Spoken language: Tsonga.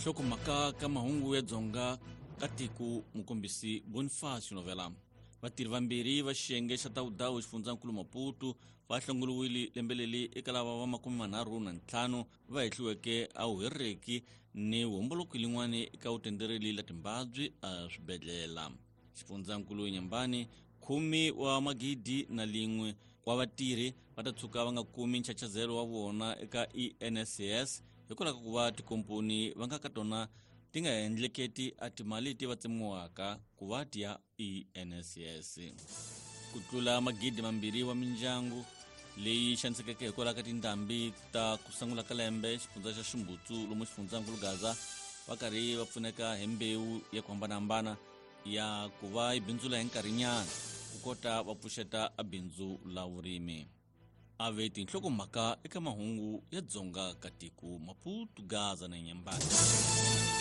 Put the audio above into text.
Tinhlokomhaka ka mahungu ya Dzonga ka tiko, mukombisi Bonifacio Novela. Vatirhi vambirhi va xiyenge xa Tawudawu xifundzankulu Maputo va hlongoliwile lembe leri eka lava va 35 va hehliweke a vuhereki ni vuhomboloki lin'wani eka vutendereli la timbabyi a swibedlela. Xifundzankulu Nyambani, 10001 wa vatirhi va ta tshuka va nga kumi nchachazelo wa vona eka ENSS hikwalaho ka ku va tikomponi va nga ka tona ti nga endleketi a timali ti va tsemiwaka ku va ti ya ENSS. Ku tlula 2,000 wa mindyangu leyi xanisekeke hikwalaho ka tindhambi ta ku sungula ka lembe xifundza xa Ximbutsu lomu xifundzankulu Gaza va karhi va pfuneka hi mbewu ya ku hambanahambana ya ku va yi bindzula hi nkarhinyana ku kota va pfuxeta a bindzu la vurimi. A ve tinhlokomhaka eka mahungu ya Dzonga ka tiko, Maputo, Gaza na Nyambani.